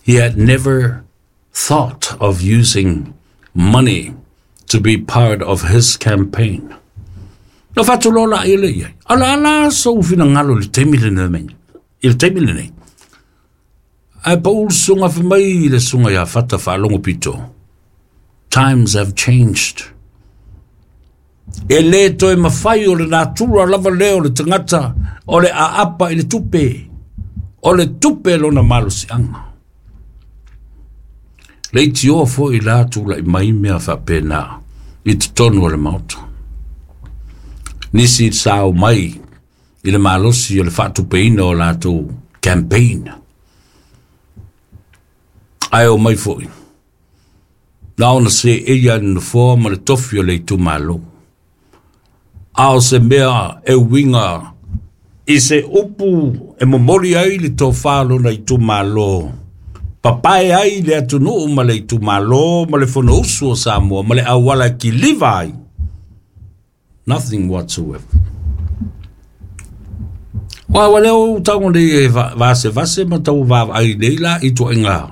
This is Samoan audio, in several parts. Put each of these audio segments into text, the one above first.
He had never thought of using money to be part of his campaign. Na faatuloa laia lea i ai, a o le a la sou finagalo i le taimi lenei? I le taimi lenei? Ae pau le susuga fai mai i le susuga ia Fata Faalogo Pito, Times have changed. E le toe mafai o le natura lava lea o le tagata o le aapa i le tupe. O le tupe lona malosiaga. Leitioa foi la tulai mai mea faapena i totonu o le Maota. Nisi sa omai i le malosi o le faatupeina o latou campaign. Ae omai foi, na ona seei lava i le nofoa ma le tofi o le itumalo. A o se mea e uiga i se upu e momoli ai le tofa o lona itumalo, papae ai le atunuu ma le itumalo ma le Fonousu o Samoa ma le auala e kiliva ai, nothing whatsoever. Ua ua lea ua tago nei e vasevase ma tau vaavaai nei la i ituaiga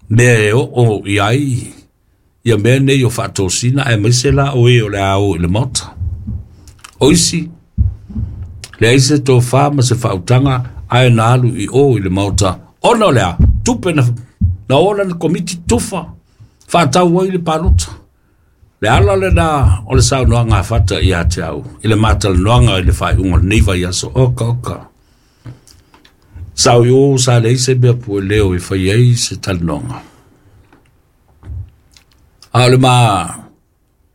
mea e oo i ai ia mea nei o faatosina aemaise la o e o le a o i le Maota. O isi, leai se tofa ma se faautaga ae na alu i o i le Maota ona o le a? Tupe na, na ola le komiti tufa faatau ai le palota. Le ala lena o le saunoaga a Fata ia te au i le matalanoaga i le faaiuga o lenei vaiaso. Oka oka. Sa o i o sa leai se mea pueleo e fai ai se talanoaga. A o le ma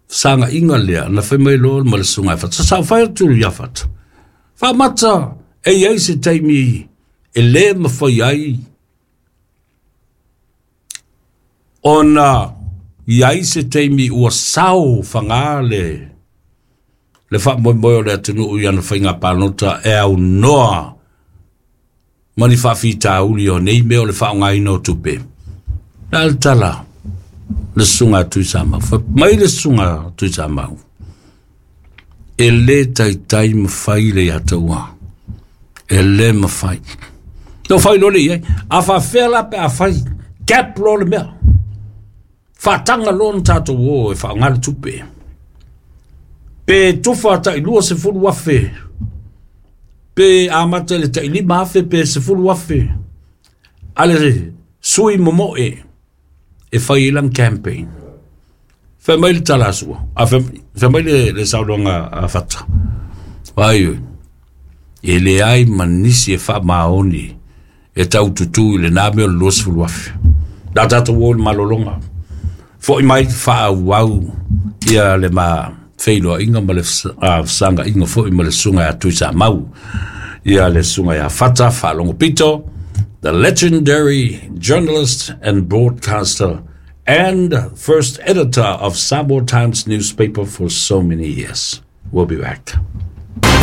fesagaina lea na fai mai loa ma le susuga ia Fata. Sa ou fai atu ia Fata, faamata e i ai se taimi e le mafai ai ona i ai se taimi ua sao faga le le faamoemoe o le atunuu i ana faiga palota e aunoa ma ni faafitauli o nei mea o le faaaogaina o tupe. Le a le tala le susuga a Tuisamau? Fai mai le susuga a Tuisamau, e le taitai mafai le ia taua. E le mafai. Na fai loa le i ai. A faafefea la pe a fai cap loa le mea. Faataga loa ona tatou o e faaaoga le tupe. Pe tufa tai 20,000 pe amata i le tai 5,000 pe 10,000 a le sui momoe e fai ai lana campaign. Fai mai le tala a Sua, a fai mai le, le saunoaga a Fata. Ai, oi, e leai ma nisi e faamaoni e tau tutū i lena mea o le 20,000. La tatou o i le malologa. Foi mai faaauau ia le ma feiloaiga ma le fesagaina foi ma le susuga ia Tuisamau. Ia le susuga ia Fata Faalogo Pito, the legendary journalist and broadcaster and first editor of Samoa Times newspaper for so many years. We'll be back.